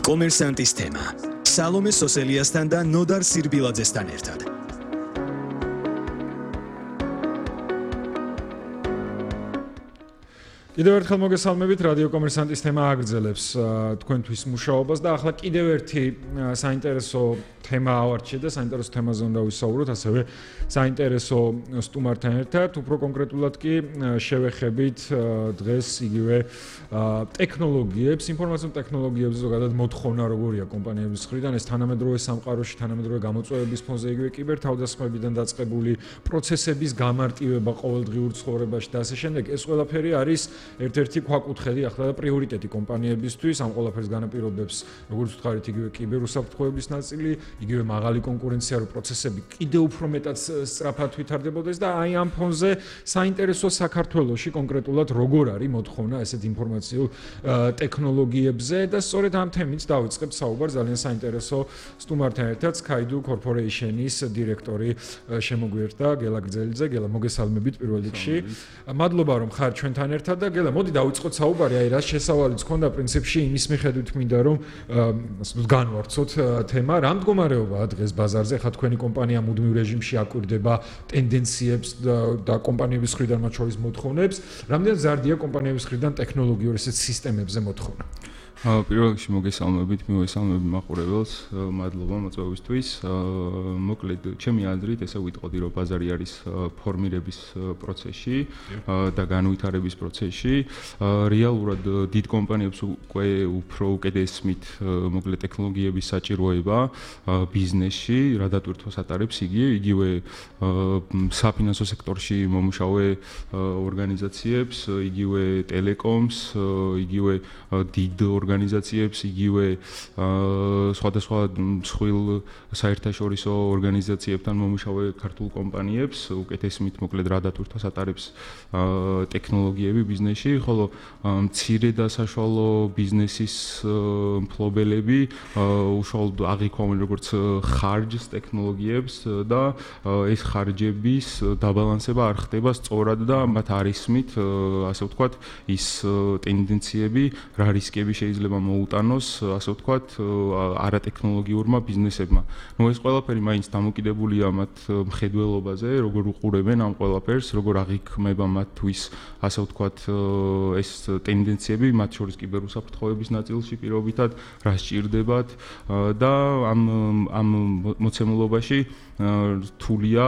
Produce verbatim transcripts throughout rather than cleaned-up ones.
კომერსანტის თემა. სალომე სოსელიასთან და ნოდარ სირბილაძესთან ერთად. კიდევ ერთხელ მოგესალმებით, რადიო კომერსანტის თემა აგრძელებს თქვენთვის მუშაობას და ახლა კიდევ ერთი საინტერესო თემა ავარჩიე და საინტერესო თემაზე უნდა ვისაუბროთ, ასევე საინტერესო სტუმართან ერთად, უფრო კონკრეტულად კი შევეხებით დღეს იგივე ტექნოლოგიებს, ინფორმაციულ ტექნოლოგიებზე ზოგადად მოთხოვნა როგორია კომპანიების მხრიდან, ეს თანამედროვე სამყაროში, თანამედროვე გამოწვევების ფონზე, იგივე კიბერთავდასხმებიდან დაწყებული პროცესების გამარტივება ყოველდღიურ ცხოვრებაში და ასე შემდეგ, ეს ყველაფერი არის ერთ-ერთი ქვაკუთხედი ახლა და პრიორიტეტი კომპანიებისთვის, ამ ყველაფერს განაპირობებს, როგორც ვთქვარით, იგივე კიბერუსაფრთხოების ნაწილი, იგივე მაღალი კონკურენცია, რომ პროცესები კიდევ უფრო მეტად სწრაფად ვითარდებოდეს და აი ამ ფონზე საინტერესო საქართველოში კონკრეტულად როგორ არის მოთხოვნა ესეთ ინფორმაციულ ტექნოლოგიებზე და სწორედ ამ თემით დავიწყებ საუბარს ძალიან საინტერესო სტუმართან ერთად, Skydu Corporation-ის დირექტორი შემოგვიერთდა გელა გრძელიძე. გელა, მოგესალმებით პირველ რიგში. მადლობა რომ ხარ ჩვენთან ერთად და გელა, მოდი დავიწყოთ საუბარი, აი რა შესავალიც ქონდა პრინციპში იმის მიხედვით მინდა რომ განვარცოთ თემა, რა მდგომარეობაა დღეს ბაზარზე, ხა თქვენი კომპანია მუდმივ რეჟიმში აკვირდება ტენდენციებს და კომპანიების მხრიდან მათ შორის მოთხოვნებს, რამდენად ზარდია კომპანიების მხრიდან ტექნოლოგიურ ესეთ სისტემებზე მოთხოვნა? პირველ რიგში მოგესალმებით, მივესალმები მაყურებელს, მადლობა მოწვევისთვის. მოკლედ, ჩემი აზრით, ესე ვიტყოდი, რომ ბაზარი არის ფორმირების პროცესში და განვითარების პროცესში. რეალურად დიდ კომპანიებს უკვე უფრო უკეთესმით მოკლედ ტექნოლოგიების საჭიროება ბიზნესში, რა დატვირთვას ატარებს იგი, იგივე საფინანსო სექტორში მომუშავე ორგანიზაციებს, იგივე ტელეკომს, იგივე დიდ ორგანიზაციებს, იგივე სხვადასხვა მსხვილ საერთაშორისო ორგანიზაციებთან მომუშავე ქართულ კომპანიებს, უკეთესმით მოკლედ რა დატვირთვას ატარებს ტექნოლოგიები ბიზნესში, ხოლო მცირე და საშუალო ბიზნესის მფლობელები უშუალოდ აღიქვამენ როგორც ხარჯს ტექნოლოგიებს და ეს ხარჯების დაბალანსება არ ხდება სწორად და მათ არ ისმით, ასე ვთქვათ, ის ტენდენციები, რა რისკები შეიძლება მოუტანოს, ასე ვთქვათ, არატექნოლოგიურმა ბიზნესებმა. ნუ ეს ყველაფერი მაინც დამოკიდებულია მათ მხედველობაზე, როგორ უყურებენ ამ ყველაფერს, როგორ აღიქმება მათთვის, ასე ვთქვათ, ეს ტენდენციები, მათ შორის კიბერუსაფრთხოების ნაწილში პირობითად, რა სჭირდებათ და ამ ამ მოცემულობაში რთულია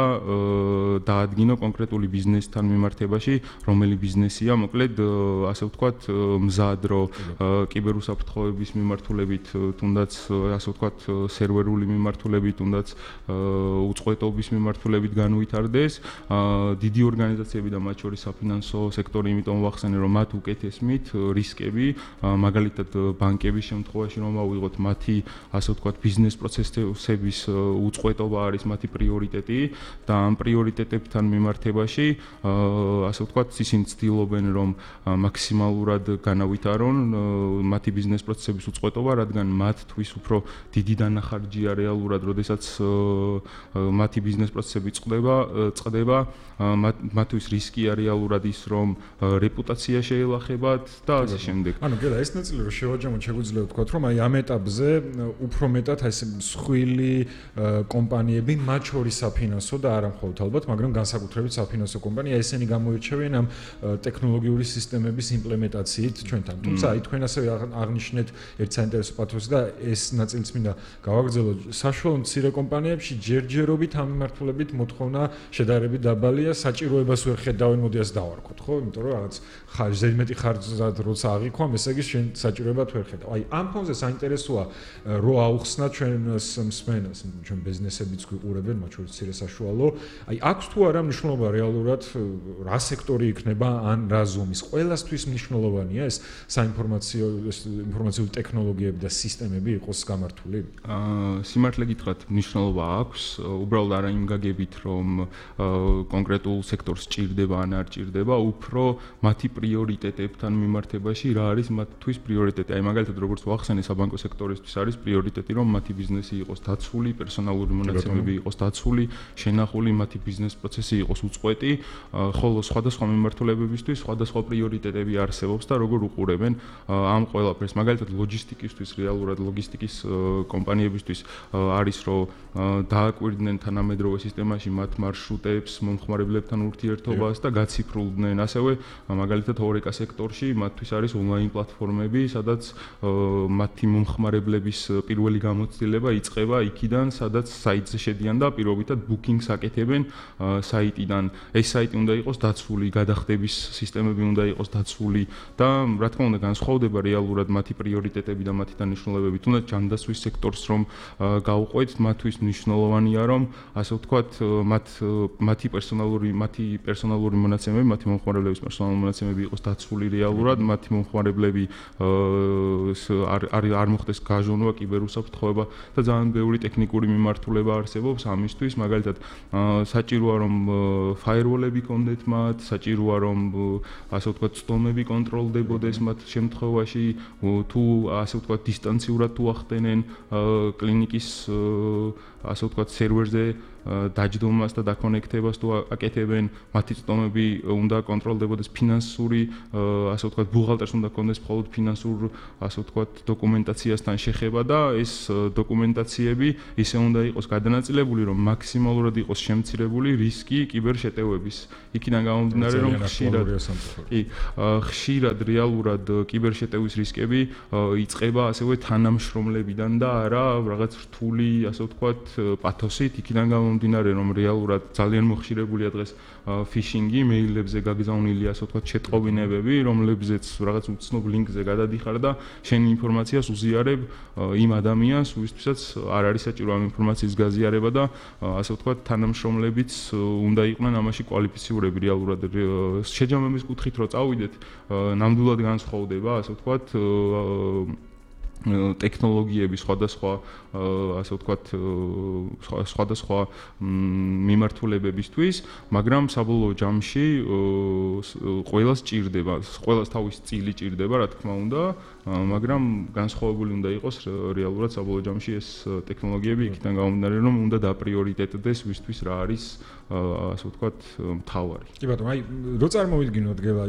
დაადგინო კონკრეტული ბიზნესთან მიმართებაში, რომელი ბიზნესია, მოკლედ, ასე ვთქვათ, მზად რო კიბერუსაფრთხოების მიმართულებით, თუნდაც, ასე ვთქვათ, სერვერული მიმართულებით, თუნდაც უწყვეტობის მიმართულებით განვითარდეს. დიდი ორგანიზაციები და მათ შორის საფინანსო სექტორი, იმიტომ ვახსენე, რომ მათ უკეთესმით რისკები, მაგალითად ბანკების შემთხვევაში რომ ავიღოთ, მათი, ასე ვთქვათ, ბიზნეს პროცესების უწყვეტობა არის მათი პრიორიტეტი და ამ პრიორიტეტებთან მიმართებაში, ასე ვთქვათ, ისინი ცდილობენ, რომ მაქსიმალურად განავითარონ მათი ბიზნეს პროცესების უწყვეტობა, რადგან მათთვის უფრო დიდი დანახარჯია რეალურად, როდესაც მათი ბიზნეს პროცესები წყდება, წყდება, მათთვის რისკია რეალურად ის, რომ რეპუტაცია შეელახებათ და ასე შემდეგ. ანუ გელა, ეს ნაწილი რომ შევაჯამოთ, შეგვიძლია ვთქვათ, რომ აი ამ ეტაპზე უფრო მეტად აი ეს მსხვილი კომპანიები, მათ შორის საფინანსო და არა მხოლოდ ალბათ, მაგრამ განსაკუთრებით საფინანსო კომპანია, ესენი გამოირჩევიან ამ ტექნოლოგიური სისტემების იმპლემენტაციით ჩვენთან. თუმცა აი თქვენ ასევე აღნიშნეთ ერთ საინტერესო პათოსს და ეს ნაწილიც მინდა გავაგრძელოთ. საშუალო მცირე კომპანიებში ჯერჯერობით ამ მიმართულებით მოთხოვნა შედარებით დაბალია, საჭიროებას ვერ ხედავენ, მოდი ასე დავარქოთ, ხო? იმიტომ რომ რაღაც ხარჯ, ზედმეტი ხარჯად როცა აღიქვამ, ესე იგი შენ საჭიროებად ვერ ხედავ. აი ამ ფონზე საინტერესოა რო აუხსნა ჩვენს მსმენელს, ჩვენ ბიზნესებიც გვიყურებენ, მათ შორის მცირე საშუალო. აი აქვს თუ არა მნიშვნელობა რეალურად რა სექტორი იქნება ან რა ზომის? ყველასთვის მნიშვნელოვანია ეს საინფორმაციო ინფორმაციული ტექნოლოგიები და სისტემები იყოს გამართული? აა სიმართლე გითხრათ, მნიშვნელობა აქვს, უბრალოდ არა იმ გაგებით, რომ კონკრეტულ სექტორს ჭირდება ან არ ჭირდება, უფრო მათი პრიორიტეტებთან მიმართებაში რა არის მათთვის პრიორიტეტი. აი მაგალითად, როგორც ვახსენე, საბანკო სექტორისთვის არის პრიორიტეტი, რომ მათი ბიზნესი იყოს დაცული, პერსონალური მონაცემები იყოს დაცული, შენახული, მათი ბიზნეს პროცესი იყოს უწყვეტი, ხოლო სხვადასხვა მიმართულებებისთვის სხვადასხვა პრიორიტეტები არსებობს და როგორ უყურებენ ამ ყველა ყველაფერს. მაგალითად, ლოჯისტიკისთვის, რეალურად ლოგისტიკის კომპანიებისთვის არის რომ დააკვირდნენ თანამედროვე სისტემაში მათ მარშრუტებს, მომხმარებლებთან ურთიერთობას და გაციფრულდნენ. ასევე მაგალითად ორეკა სექტორში მათთვის არის ონლაინ პლატფორმები, სადაც მათი მომხმარებლების პირველი გამოცდილება იწყება იქიდან, სადაც საიტზე შედიან და პირობითად ბუკინგს აკეთებენ საიტიდან. ეს საიტი უნდა იყოს დაცული, გადახდების სისტემები უნდა იყოს დაცული და რა თქმა უნდა განსხვავდება რეალურად მათი პრიორიტეტები და მათი დანიშნულებები. თუნდაც ჯანდაცვის სექტორს რომ გავუყვეთ, მათთვის მნიშვნელოვანია რომ ასე ვთქვათ, მათ მათი პერსონალური მათი პერსონალური მონაცემები, მათი მომხმარებლების პერსონალური მონაცემები იყოს დაცული რეალურად, მათი მომხმარებლები არ არ მოხდეს გაჟონვა, კიბერუსაფრთხოება და ძალიან ბევრი ტექნიკური მიმართულება არსებობს ამისთვის. მაგალითად, საჭიროა რომ ფაიერვოლები კონდეთ მათ, საჭიროა რომ ასე ვთქვათ, სტომები კონტროლდებოდეს მათ შემთხვევაში, თუ ასე ვთქვათ, დისტანციურად თუ ახდენენ კლინიკის ასე ვთქვათ, სერვერზე დაჯდომას და დაკონექტებას თუ აკეთებენ, მათი სტომები უნდა კონტროლდებოდეს ფინანსური, ასე ვთქვათ, ბუღალტერს უნდა კონდეს მხოლოდ ფინანსურ, ასე ვთქვათ, დოკუმენტაციასთან შეხება და ეს დოკუმენტაციები ისე უნდა იყოს გადანაწილებული, რომ მაქსიმალურად იყოს შემცირებული რისკი კიბერშეტევების. იქიდან გამომდინარე, რომ ხშირად კი, ხშირად რეალურად კიბერშეტევის რისკები იწყება ასევე თანამშრომლებიდან და არა რაღაც რთული, ასე ვთქვათ, პათოსით. იქიდან გამომდინარე, რომ რეალურად ძალიან მოხშირებულია დღეს ფიშინგი, მეილებზე გაგზავნილი, ასე ვთქვათ, შეტყობინებები, რომლებზეც რაღაც უცნობ ლინკზე გადადიხარ და შენი ინფორმაციას უზიარებ იმ ადამიანს, ვისთვისაც არ არის საჭირო ამ ინფორმაციის გაზიარება და ასე ვთქვათ, თანამშრომლებიც უნდა იყვნენ ამაში კვალიფიცირებული რეალურად. შეჯამების კუთხით რო წავიდეთ, ნამდვილად განსხვავდება, ასე ვთქვათ, ტექნოლოგიები სხვადასხვა ასე ვთქვათ სხვადასხვა მიმართულებებისთვის, მაგრამ საბოლოო ჯამში ყველას ჭირდება, ყველას თავის წილი ჭირდება, რა თქმა უნდა, მაგრამ განსხვავებული უნდა იყოს რეალურად საბოლოო ჯამში ეს ტექნოლოგიები, იქიდან გამომდინარე, რომ უნდა დაპრიორიტეტდეს ვისთვის რა არის ასე ვთქვათ მთავარი. კი ბატონო, აი რო წარმოვიდგინოთ გელა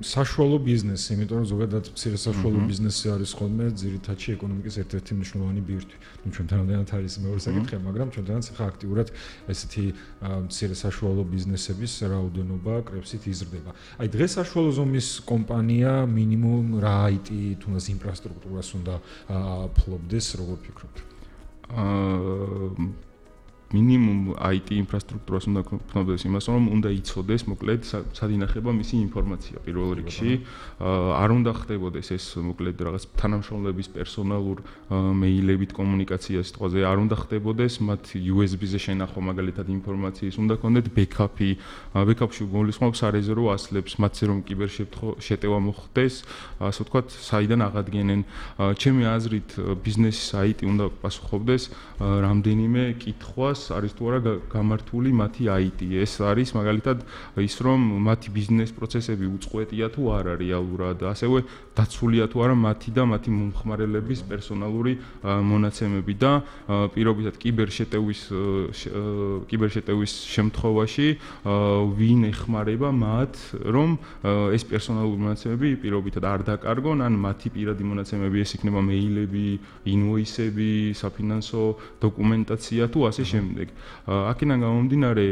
საშუალო ბიზნესი, იმიტომ რომ ზოგადად მცირე საშუალო ბიზნესი არის ხოლმე ძირითადში ეკონომიკის ერთ-ერთი მნიშვნელოვანი ბირთვი. ნუ ჩვენთანაც არის მეორე საკითხი, მაგრამ ჩვენთანაც ხა აქტიურად ესეთი მცირე საშუალო ბიზნესების რაოდენობა კრებსით იზრდება. აი დღეს საშუალო ზომის კომპანია მინიმუმ რა აი ტი თუნდაც ინფრასტრუქტურას უნდა ფლობდეს, როგორ ფიქრობთ? აა მინიმუმ აი ტი ინფრასტრუქტურას უნდა ფლობდეს იმას, რომ უნდა იცოდეს მოკლედ სად ინახება მისი ინფორმაცია პირველ რიგში. არ უნდა ხდებოდეს ეს მოკლედ რაღაც თანამშრომლების პერსონალურ მეილებით კომუნიკაცია სიტყვაზე, არ უნდა ხდებოდეს მათ იუ ეს ბი-ზე შენახვა მაგალითად ინფორმაციის, უნდა კონდეთ ბექაპი. ბექაპში გულისხმობს სარეზერვო ასლებს, მათზე რომ კიბერშეტევა მოხდეს, ასე ვთქვათ, საიდან აღადგენენ. ჩემი აზრით, ბიზნესის აი ტი უნდა პასუხობდეს რამდენიმე კითხვას არის თუ არა გამართული მათი აი ტი. ეს არის მაგალითად ის რომ მათი ბიზნეს პროცესები უწყვეტია თუ არა რეალურად, ასევე დაცულია თუ არა მათი და მათი მომხმარებლების პერსონალური მონაცემები და პირობითად კიბერშეტევის კიბერშეტევის შემთხვევაში ვინ ეხმარება მათ, რომ ეს პერსონალური მონაცემები პირობითად არ დაკარგონ, ან მათი პირადი მონაცემები ეს იქნება მეილები, ინვოისები, საფინანსო დოკუმენტაცია თუ ასე შემდეგ. აქედან გამომდინარე,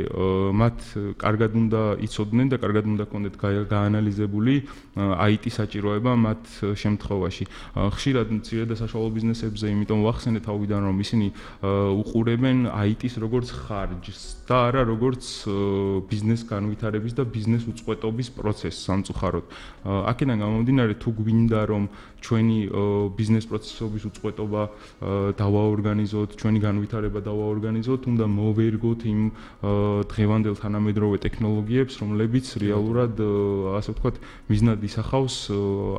მათ კარგად უნდა იცოდნენ და კარგად უნდა კონდეთ გაანალიზებული აი ტი საჭიროება მათ შემთხვევაში. ხშირად მცირე და საშუალო ბიზნესებზე, იმიტომ ვახსენე თავიდან, რომ ისინი უყურებენ აი ტის როგორც ხარჯს და არა როგორც ბიზნეს განვითარების და ბიზნეს უწყვეტობის პროცესს სამწუხაროდ. აქედან გამომდინარე, თუ გვინდა რომ ჩვენი ბიზნეს პროცესების უწყვეტობა დავაორგანიზოთ, ჩვენი განვითარება დავაორგანიზოთ, უნდა მოვერგოთ იმ დღევანდელ თანამედროვე ტექნოლოგიებს, რომლებიც რეალურად ასე ვთქვათ, მიზნად ისახავს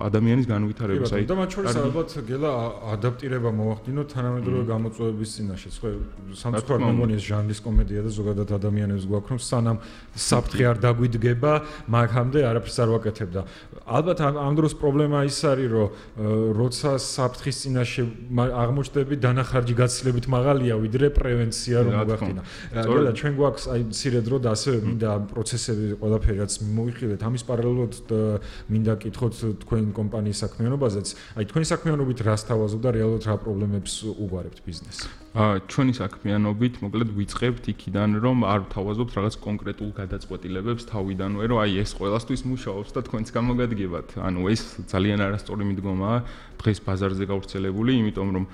ადამიანის განვითარებას. აი და მათ შორის ალბათ გელა ადაპტირება მოახდინოთ თანამედროვე გამოწვევების წინაშე. ხო, სამწუხაროდ მე მგონი ეს ჟანრის კომედია და ზოგადად ადამიანებს გვაქვს, რომ სანამ საფრთხე არ დაგვიდგება, მაგამდე არაფერს არ ვაკეთებ და ალბათ ამ დროს პრობლემა ის არის, რომ როცა საფრთხის წინაშე აღმოჩნდები დანახარჯი გაცილებით მაღალია ვიდრე პრევენცია რომ მოგახდინა. გელა ჩვენ გვაქვს აი მცირე დრო და ასევე მინდა პროცესები ყველაფერი რაც მოიხილეთ ამის პარალელურად მინდა კითხოთ თქვენ კომპანიის საქმიანობაზეც. აი თქვენი საქმიანობით რას თავაზობ და რეალურად რა პრობლემებს უგვარებთ ბიზნესს? აა ჩვენი საქმიანობით მოკლედ ვიწყებთ იქიდან რომ არ ვთავაზობთ რაღაც კონკრეტულ გადაწყვეტილებებს თავიდანვე რომ აი ეს ყველასთვის მუშაობს და თქვენც გამოგადგებათ. ანუ ეს ძალიან არასწორი მიდგომაა დღეს ბაზარზე გავრცელებული, იმიტომ რომ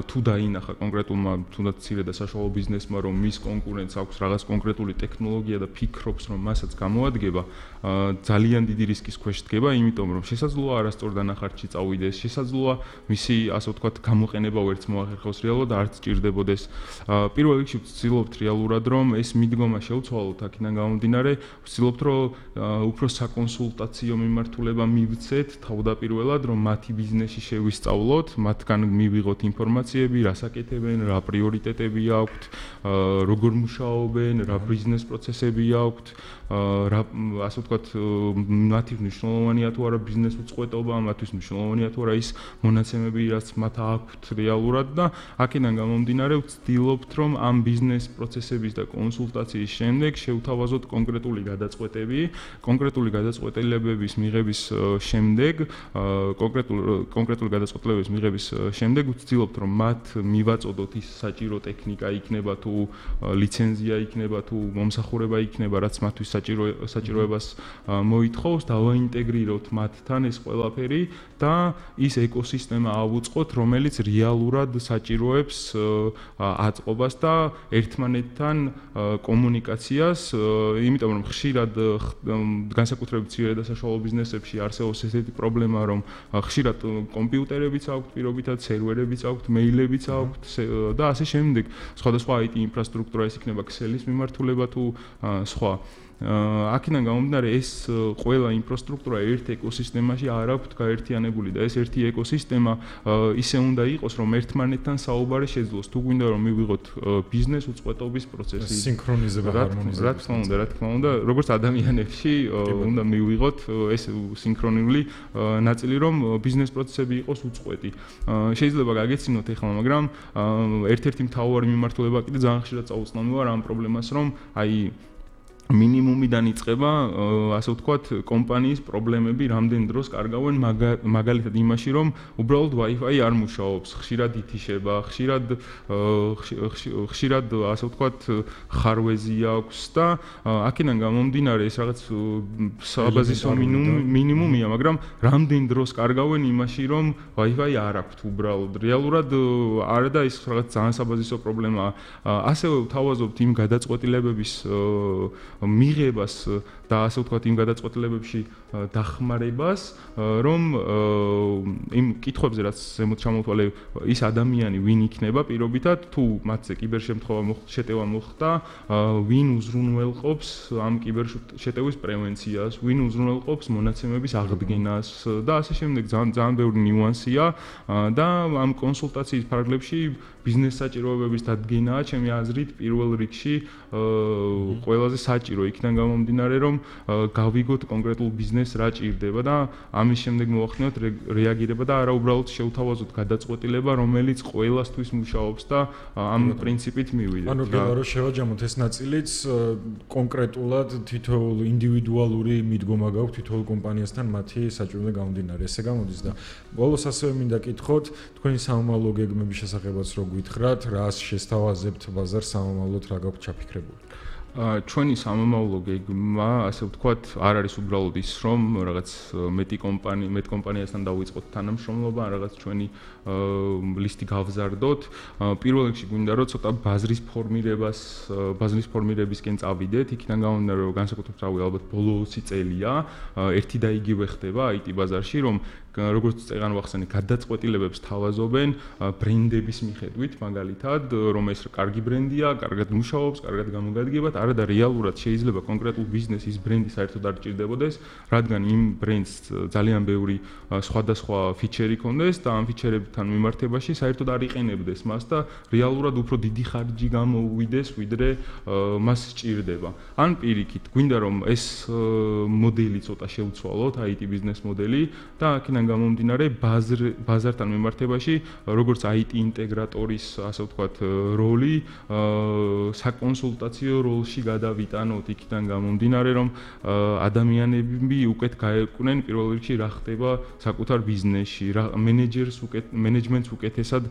თუ დაინახა კონკრეტულმა თუნდაც მცირე და საშუალო ბიზნესმა რომ მის კონკურენტს აქვს რაღაც კონკრეტული ტექნოლოგია და ფიქრობს რომ მასაც გამოადგება, ძალიან დიდი რისკის ქვეშ დგება, იმიტომ რომ შესაძლოა არასწორ დანახარჯში წავიდეს, შესაძლოა მისი ასე ვთქვათ გამოყენება ვერც მოახერხოს რეალურად და არც ჭირდებოდეს. პირველ რიგში ვცდილობთ რეალურად რომ ეს მიდგომა შევცვალოთ აქედან გამომდინარე, ვცდილობთ რომ უფრო საკონსულტაციო მიმართულება მივცეთ თავდაპირველად რომ მათი ბიზნესი შევისწავლოთ, მათგან მივიღოთ ინფორმაციები, რას აკეთებენ, რა პრიორიტეტები აქვთ, როგორ მუშაობენ, რა ბიზნეს პროცესები აქვთ, რა ასე ვთქვათ, მათი მნიშვნელოვანია თუ არა ბიზნეს უწყვეტობა, მათთვის მნიშვნელოვანია თუ არა ის მონაცემები, რაც მათ აქვთ რეალურად და აქედან გამომდინარე ვცდილობთ რომ ამ ბიზნეს პროცესების და კონსულტაციის შემდეგ შევთავაზოთ კონკრეტული გადაწყვეტები, კონკრეტული გადაწყვეტილებების მიღების შემდეგ, კონკრეტულ კონკრეტული გადაწყვეტილებების მიღების შემდეგ ვცდილობთ რომ მათ მივაწოდოთ ის საჭირო ტექნიკა იქნება თუ ლიცენზია იქნება თუ მომსახურება იქნება რაც მათთვის საჭირო საჭიროებას მოითხოვს და ვაინტეგრიროთ მათთან ეს ყველაფერი და ის ეკოსისტემა ავუწყოთ რომელიც რეალურად საჭიროებს აწყობას და ერთმანეთთან კომუნიკაციას, იმიტომ რომ ხშირად განსაკუთრებით მცირე და საშუალო ბიზნესებში არსებობს ესეთი პრობლემა რომ ხშირად კომპიუტერებიც აქვთ პირობითად, სერვერებიც აქვთ, მეილებიც აქვთ და ასე შემდეგ. სხვადასხვა აი ტი ინფრასტრუქტურა ის იქნება ქსელის მიმართულება თუ სხვა. აქედან გამომდინარე ეს ყველა ინფრასტრუქტურა ერთ ეკოსისტემაში არ აქვთ გაერთიანებული და ეს ერთი ეკოსისტემა ისე უნდა იყოს რომ ერთმანეთთან საუბარი შეძლოს. თუ გვინდა რომ მივიღოთ ბიზნეს უწყვეტობის პროცესი, სინქრონიზება, ჰარმონიზება. რა თქმა უნდა, რა თქმა უნდა, როგორც ადამიანებში უნდა მივიღოთ ეს სინქრონული ნაწილი რომ ბიზნეს პროცესები იყოს უწყვეტი. შეიძლება გაგეცინოთ ახლა, მაგრამ ერთ-ერთი მთავარი მიმართულება კიდე ძალიან ხშირად წაუწნავი ვარ ამ პრობლემას რომ აი მინიმუმიდან იწყება, ასე ვთქვათ, კომპანიის პრობლემები რამდენ დროს კარგავენ მაგალითად იმაში, რომ უბრალოდ Wi-Fi არ მუშაობს, ხშირად ითიშება, ხშირად ხშირად ასე ვთქვათ, ხარვეზი აქვს და აქედან გამომდინარე ეს რაღაც საბაზისო მინიმუმია, მაგრამ რამდენ დროს კარგავენ იმაში, რომ Wi-Fi არ აქვთ უბრალოდ. რეალურად არა და ეს რაღაც ძალიან საბაზისო პრობლემაა. ასევე ვთავაზობთ იმ გადაწყვეტილებების მიღებას და ასე ვთქვათ იმ გადაწყვეტილებებში დახმარებას, რომ იმ კითხვებზე რაც ზემოთ ჩამოთვალე ის ადამიანი ვინ იქნება პირობითად თუ მათზე კიბერშემთხვევა შეტევა მოხდა, ვინ უზრუნველყოფს ამ კიბერშეტევის პრევენციას, ვინ უზრუნველყოფს მონაცემების აღდგენას და ასე შემდეგ ძალიან ძალიან ბევრი ნიუანსია და ამ კონსულტაციის ფარგლებში ბიზნეს საჭიროებების დადგენაა ჩემი აზრით პირველ რიგში ყველაზე საჭირო იქიდან გამომდინარე რომ გავიგოთ კონკრეტულ ბიზნესს რა ჭირდება და ამის შემდეგ მოვახდინოთ რეაგირება და არა უბრალოდ შევთავაზოთ გადაწყვეტილება რომელიც ყველასთვის მუშაობს და ამ პრინციპით მივიდეთ. ანუ გელა რომ შევაჯამოთ ეს ნაწილიც კონკრეტულად თითოეულ ინდივიდუალური მიდგომა გაქვს თითოეულ კომპანიასთან მათი საჭიროებიდან გამომდინარე. ესე გამოდის და ბოლოს ასევე მინდა კითხოთ თქვენი სამომავლო გეგმების შესახებაც რო გითხრათ, რას შესთავაზებთ ბაზარს სამომავლოდ რა გაქვთ ჩაფიქრებული? ჩვენი სამომავლო გეგმა, ასე ვთქვათ, არ არის უბრალოდ ის, რომ რაღაც მეტი კომპანია, მეტ კომპანიასთან დავიწყოთ თანამშრომლობა, რაღაც ჩვენი ლისტი გავზარდოთ. პირველ რიგში გვინდა რომ ცოტა ბაზრის ფორმირებას, ბაზრის ფორმირებისკენ წავიდეთ, იქიდან გამომდინარე რომ განსაკუთრებით რავი ალბათ ბოლო ოცი წელია, ერთი და იგივე ხდება აი ტი ბაზარში, რომ როგორც წეგან ვახსენე, გადაწყვეტილებებს თავაზობენ ბრენდების მიხედვით, მაგალითად, რომ ეს კარგი ბრენდია, კარგად მუშაობს, კარგად გამოგადგებათ, არა და რეალურად შეიძლება კონკრეტულ ბიზნესს ის ბრენდი საერთოდ არ ჭირდებოდეს, რადგან იმ ბრენდს ძალიან ბევრი სხვადასხვა ფიჩერი ჰქონდეს და ამ ფიჩერებთან მიმართებაში საერთოდ არ იყენებდეს მას და რეალურად უფრო დიდი ხარჯი გამოუვიდეს, ვიდრე მას სჭირდება. ან პირიქით, გვინდა რომ ეს მოდელი ცოტა შევცვალოთ, აი ტი ბიზნეს მოდელი და აქედან აქედან გამომდინარე ბაზართან მიმართებაში როგორც აი ტი ინტეგრატორის ასე ვთქვათ როლი საკონსულტაციო როლში გადავიტანოთ იქიდან გამომდინარე რომ ადამიანები უკეთ გაეკვნენ პირველ რიგში რა ხდება საკუთარ ბიზნესში რა მენეჯერს უკეთ მენეჯმენტს უკეთესად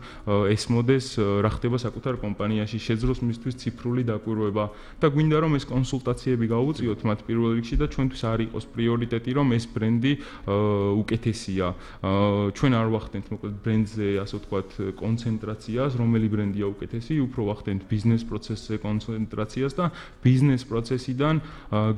ესმოდეს რა ხდება საკუთარ კომპანიაში შეძლოს მისთვის ციფრული დაკვირვება და გვინდა რომ ეს კონსულტაციები გაუწიოთ მათ პირველ რიგში და ჩვენთვის არ იყოს პრიორიტეტი რომ ეს ბრენდი უკეთესია ჩვენ არ ვახდენთ მოკლედ ბრენდზე ასე ვთქვათ კონცენტრაციას რომელი ბრენდია უკეთესი უფრო ვახდენთ ბიზნეს პროცესზე კონცენტრაციას და ბიზნეს პროცესიდან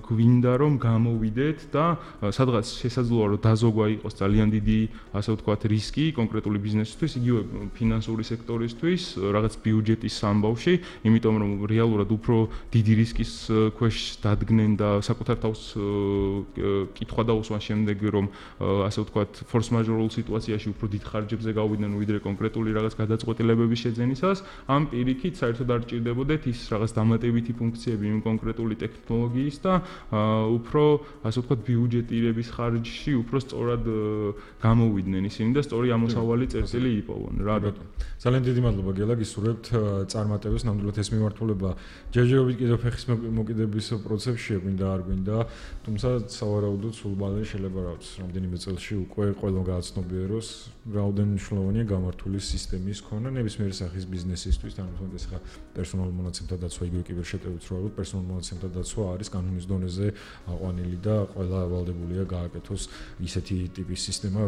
გვინდა რომ გამოვიდეთ და სადღაც შესაძლოა რომ დაზოგვა იყოს ძალიან დიდი ასე ვთქვათ რისკი კონკრეტული ბიზნესისთვის იგივე ფინანსური სექტორისთვის რაღაც ბიუჯეტის ამბავში იმიტომ რომ რეალურად უფრო დიდი რისკის ქვეშ დადგნენ და საკუთარ თავს კითხვა დაუსვან შემდეგ რომ ასე ვთქვათ ფორს მაჟორულ სიტუაციაში უფრო დიდ ხარჯებზე გავიდნენ ვიდრე კონკრეტული რაღაც გადაწყვეტილებების შეძენისას ამ პირიქით საერთოდ არ ჭირდებოდეთ ის რაღაც დამატებითი ფუნქციები იმ კონკრეტული ტექნოლოგიის და უფრო ასე ვთქვათ ბიუჯეტირების ხარჯში უფრო სწორად გამოვიდნენ ისინი და სწორი ამოსავალი წერტილი იპოვონ რა ბატონო ძალიან დიდი მადლობა გელა გისურვებთ წარმატებას ნამდვილად ეს მიმართულება ჯერჯერობით კიდევ ფეხის მოკიდების პროცესშია გვინდა არ გვინდა თუმცა სავარაუდოდ სულ ბალე შეიძლება რაღაც რამდენიმე წელში უკვე ყველა გააცნობიეროს რაოდენ მნიშვნელოვანია გამართული სისტემის ქონა ნებისმიერი სახის ბიზნესისთვის თანამედროვე ხა პერსონალურ მონაცემთა დაცვა იგივე კიბერშეტევით რო ალბათ პერსონალურ მონაცემთა დაცვა არის კანონის დონეზე აყვანილი და ყველა ვალდებულია გააკეთოს ისეთი ტიპის სისტემა